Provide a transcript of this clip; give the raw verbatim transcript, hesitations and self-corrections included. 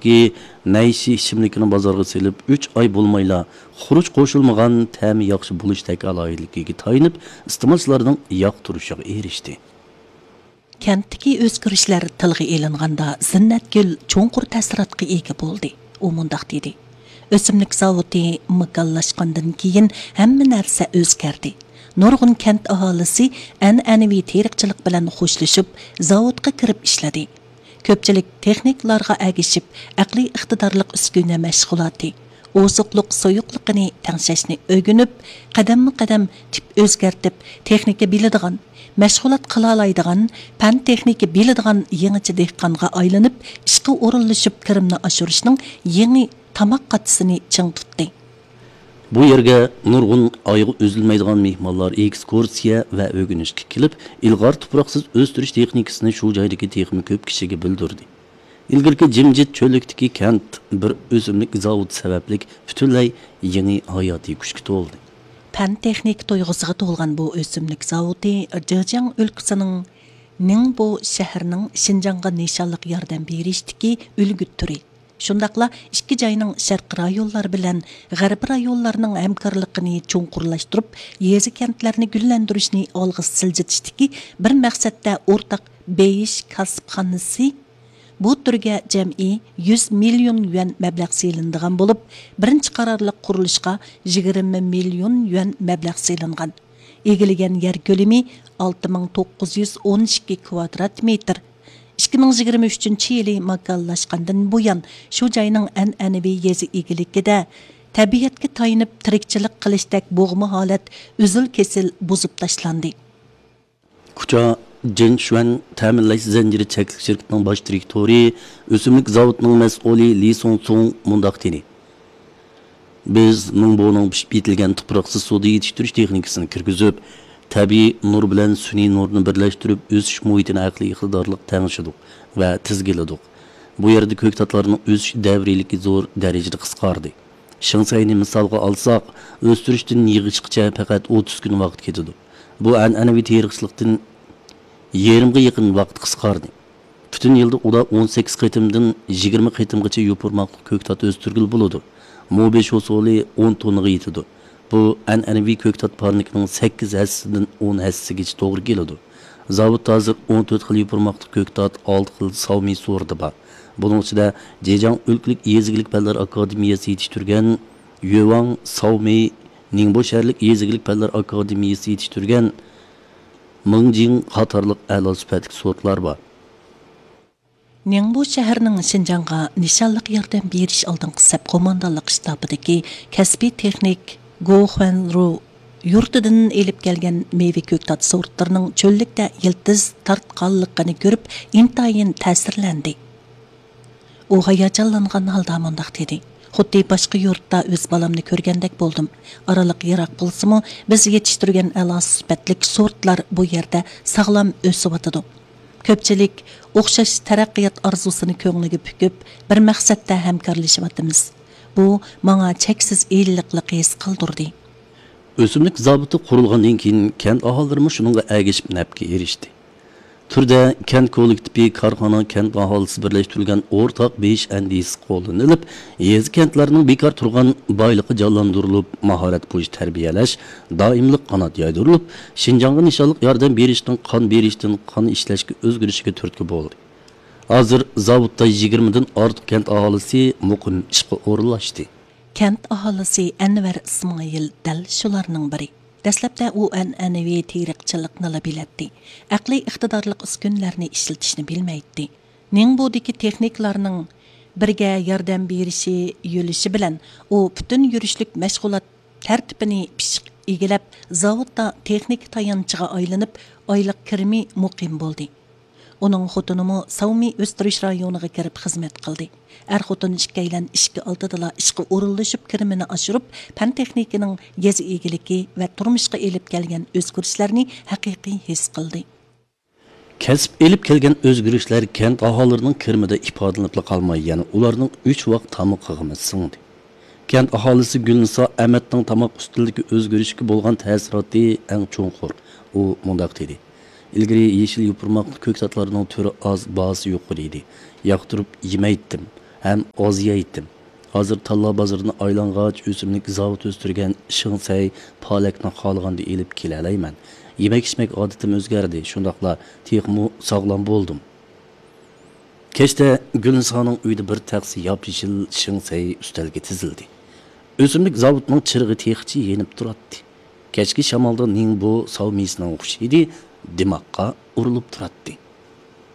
ئىچىدىكى نەيشى ئىچىملىكىنى بازارغا سېلىپ، ئۈچ ئاي بولمايلا خۇرۇچ قوشۇلمىغان، تەمى ياخشى بولۇشتەك ئالاھىدىلىكىگە تايىنىپ، ئىستېمالچىلاردىڭ ياقتۇرۇشىغا ئېرىشتى. كەنتتىكى ئۆزگىرىشلەر تىلغا ئېلىنغاندا، زىننەتگۈل چوڭقۇر تەسىراتقا ئىگە بولدى. ئۇ مۇنداق دېدى: «ئۆسۈملۈك زاۋۇتى ماكانلاشقاندىن كېيىن، ھەممە نەرسە ئۆزگەردى. نۇرغۇن كەنت ئاھالىسى ئەنئەنىۋى تېرىقچىلىق بىلەن خوشلىشىپ، زاۋۇتقا كىرىپ ئىشلىدى. كۆپچىلىك تېخنىكىلارغا ئەگىشىپ، ئەقلىي ئىقتىدارلىق ئۈسكۈنە مەشغۇلاتى، ئوزۇقلۇق سۇيۇقلۇقىنى تەڭشەشنى ئۆگىنىپ، قەدەممۇ قەدەم تىپ ئۆزگەرتىپ، تېخنىكا بىلىدىغان، مەشغۇلات قىلالايدىغان، پەن تېخنىكا بىلىدىغان يېڭىچە دېھقانغا ئايلىنىپ، ئىشقا ئورۇنلىشىپ، كىرىمنى ئاشۇرۇشنىڭ يېڭى تاماق قاچىسىنى چىڭ تۇتتى.» بۇ يەرگە نۇرغۇن ئايىغى ئۈزۈلمەيدىغان مېھمانلار ئېكسكۇرسىيە ۋە ئۆگىنىشكە كېلىپ، ئىلغار تۇپراقسىز ئۆستۈرۈش تېخنىكىسىنى شۇ جايدىكى تېخىمۇ كۆپ كىشىگە بىلدۈردى. ئىلگىرىكى جىمجىت چۆللۈكتىكى كەنت بىر ئۆسۈملۈك زاۋۇتى سەۋەبلىك پۈتۈنلەي يېڭى ھاياتىي كۈچكە تولدى. پەن تېخنىكا تۇيغۇسىغا تولغان بۇ ئۆسۈملۈك زاۋۇتى جېجياڭ ئۆلكىسىنىڭ نىڭبو شەھىرىنىڭ شىنجاڭغا نىشانلىق ياردەم بېرىشتىكى ئۈلگە تۈرى، شۇنداقلا ئىككى جاينىڭ شەرقىي رايونلار بىلەن غەربىي رايونلارنىڭ ھەمكارلىقىنى چوڭقۇرلاشتۇرۇپ، يېزا، كەنتلەرنى گۈللەندۈرۈشنى ئالغا سىلجىتىشتىكى بىر مەقسەتتە ئورتاق بېيىش كاسىپخانىسى. بۇ تۈرگە جەمئىي يۈز مىليون يۈەن مەبلەغ سېلىنىدىغان بولۇپ، بىرىنچى قارارلىق قۇرۇلۇشقا يىگىرمە مىليون يۈەن مەبلەغ سېلىنغان. ئىگىلىگەن يەر كۆلىمى ئالتە مىڭ توققۇز يۈز ئون ئىككى كۋادرات مېتىر. ئىككى مىڭ يىگىرمە ئۈچىنچى يىلى ماكانلاشقاندىن بۇيان، شۇ جاينىڭ ئەنئەنىۋى يېزا ئىگىلىكىدە تەبىئەتكە تايىنىپ تىرىكچىلىك قىلىشتەك بوغما ھالەت ئۈزۈل-كېسىل بۇزۇپ تاشلاندى. كۇچا جېنشۈەن تەمىنلەش زەنجىرى چەكلىك شىركىتىنىڭ باش دىرېكتورى، ئۆسۈملۈك زاۋۇتىنىڭ مەسئۇلى لى سۇڭسۇڭ مۇنداق دېدى: «بىز نىڭبونىڭ پىشىپ يېتىلگەن تۇپراقسىز سودا يېتىشتۈرۈش تېخنىكىسىنى كىرگۈزۈپ، تەبىئىي نۇر بىلەن سۈنئىي نۇرنى بىرلەشتۈرۈپ، ئۆسۈش مۇھىتىنى ئەقلىي ئىقتىدارلىق تەڭشىدۇق ۋە تىزگىنلىدۇق. بۇ يەردە كۆكتاتلارنىڭ ئۆسۈش دەۋرىيلىكى زور دەرىجىدە قىسقاردى.» شېڭسەينى مىسالغا ئالساق، ئۆستۈرۈشتىن يىغىشقىچە پەقەت ئوتتۇز كۈن ۋاقىت كېتىدۇ. بۇ ئەنئەنىۋى تېرىقچىلىقتىن يېرىمغا يېقىن ۋاقىت قىسقاردى. پۈتۈن يىلدا ئۇدا ئون سەككىز قېتىمدىن يىگىرمە قېتىمغىچە يوپۇرماقلىق كۆكتات ئۆستۈرگىلى بولىدۇ. مۇبىش ھوسۇلى ئون توننىغا يېتىدۇ. بۇ ئەنئەنىۋى كۆكتات پارنىكىنىڭ سەككىز ھەسسىسىدىن ئون ھەسسىسىگىچە توغرا كېلىدۇ. زاۋۇتتا ھازىر ئون تۆت خىل يوپۇرماقلىق كۆكتات، ئالتە خىل ساۋمى سورتى بار. بۇنىڭ ئىچىدە جېجياڭ ئۆلكىلىك يېزا ئىگىلىك پەنلەر ئاكادېمىيەسى يېتىشتۈرگەن يۆۋاڭ ساۋمى، نىڭبو شەھەرلىك يېزا ئىگىلىك پەنلەر ئاكادېمىيەسى يېتىشتۈرگەن مىڭجىڭ قاتارلىق ئەلا سۈپەتلىك سورتلار بار. نىڭبو شەھىرىنىڭ شىنجاڭغا نىشانلىق ياردەم بېرىش ئالدىنقى سەپ قوماندانلىق شتابىدىكى كەسپىي تېخنىك گو خۇەنرۇ يۇرتىدىن ئېلىپ كەلگەن مېۋە كۆكتات سورتلىرىنىڭ چۆللۈكتە يىلتىز تارتقانلىقىنى كۆرۈپ، ئىنتايىن تەسىرلەندى. ئۇ ھاياجانلانغان ھالدا مۇنداق دېدى: «خۇددى باشقا يۇرتتا ئۆز بالامنى كۆرگەندەك بولدۇم. ئارىلىق يىراق بولسىمۇ، بىز يېتىشتۈرگەن ئەلا سۈپەتلىك سورتلار بۇ يەردە ساغلام ئۆسۈۋاتىدۇ.» كۆپچىلىك ئوخشاش تەرەققىيات ئارزۇسىنى كۆڭلىگە پۈكۈپ، بىر مەقسەتتە ھەمكارلىشىۋاتىمىز. بۇ ماڭا چەكسىز ئىللىقلىق ھېس قىلدۇردى. ئۆسۈملۈك زاۋۇتى قۇرۇلغاندىن كېيىن، كەنت ئاھالىلىرىمۇ شۇنىڭغا ئەگىشىپ نەپكە ئېرىشتى. تۈردە كەنت كوللېكتىپى، كارخانا، كەنت ئاھالىسى بىرلەشتۈرۈلگەن ئورتاق بېيىش ئەندىزىسى قوللىنىلىپ، يېزا، كەنتلەرنىڭ بىكار تۇرغان بايلىقى جانلاندۇرۇلۇپ، ماھارەت بويىچە تەربىيەلەش دائىملىق قانات يايدۇرۇلۇپ، شىنجاڭغا نىشانلىق ياردەم بېرىشنىڭ قان بېرىشتىن قان ئىشلەشكە ئۆزگىرىشىگە تۈرتكە بولدى. ھازىر زاۋۇتتا يىگىرمىدىن ئارتۇق كەنت ئاھالىسى مۇقىم ئىشقا ئورۇنلاشتى. كەنت ئاھالىسى ئەنۋەر ئىسمائىل دەل شۇلارنىڭ بىرى. دەسلەپتە ئۇ ئەنئەنىۋى تېرىقچىلىقنىلا بىلەتتى. ئەقلىي ئىقتىدارلىق ئۈسكۈنىلەرنى ئىشلىتىشنى بىلمەيتتى. نىڭبودىكى تېخنىكلارنىڭ بىرگە ياردەم بېرىشى يۆلىشى بىلەن ئۇ پۈتۈن يۈرۈشلۈك مەشغۇلات تەرتىپىنى پىششىق ئىگىلەپ، زاۋۇتتا تېخنىكا تايانچىغا ئايلىنىپ، ئايلىق كىرىمى مۇقىم بولدى. ئۇنىڭ خوتۇنىمۇ ساۋمى ئۆستۈرۈش رايونىغا كىرىپ خىزمەت قىلدى. ئەر-خوتۇن ئىككىيلەن ئىشىك ئالدىدىلا ئىشقا ئورۇنلىشىپ، كىرىمىنى ئاشۇرۇپ، پەن-تېخنىكىنىڭ يېزا ئىگىلىكى ۋە تۇرمۇشقا ئېلىپ كەلگەن ئۆزگىرىشلەرنى ھەقىقىي ھېس قىلدى. كەسىپ ئېلىپ كەلگەن ئۆزگىرىشلەر كەنت ئاھالىلىرىنىڭ كىرىمىدە ئىپادىلىنىپلا قالماي، يەنە ئۇلارنىڭ ئۈچ ۋاق تامىقىغىمۇ سىڭدى. كەنت ئاھالىسى گۈلنىسا ئەمەتنىڭ تاماق ئۈستىلىدىكى ئۆزگىرىشكە بولغان تەسىراتى ئەڭ چوڭقۇر. ئۇ مۇنداق دېدى: «ئىلگىرى يېشىل يوپۇرماقلىق كۆكتاتلارنىڭ تۈرى ئاز، باھاسى يۇقىرى ئىدى. ياقتۇرۇپ يېمەيتتىم. ھەم ئاز يەيتتىم. ھازىر تاللا بازىرىنى ئايلانغاچ، ئۆسۈملۈك زاۋۇت ئۆستۈرگەن شېڭسەي پالەكنى خالىغاندا ئېلىپ كېلەلەيمەن. يېمەك-ئىچمەك ئادىتىم ئۆزگەردى، شۇنداقلا تېخىمۇ ساغلام بولدۇم. كەچتە گۈلنىسانىڭ ئۆيىدە بىر تەخسە ياپيېشىل شېڭسەي ئۈستەلگە تىزىلدى. ئۆسۈملۈك زاۋۇتنىڭ چىرىغى تېخىچە يېنىپ تۇراتتى. كەچكى شامالدا نىڭبو ساۋمىسىنىڭ خۇش ھىدى دىماغقا ئۇرۇلۇپ تۇراتتى.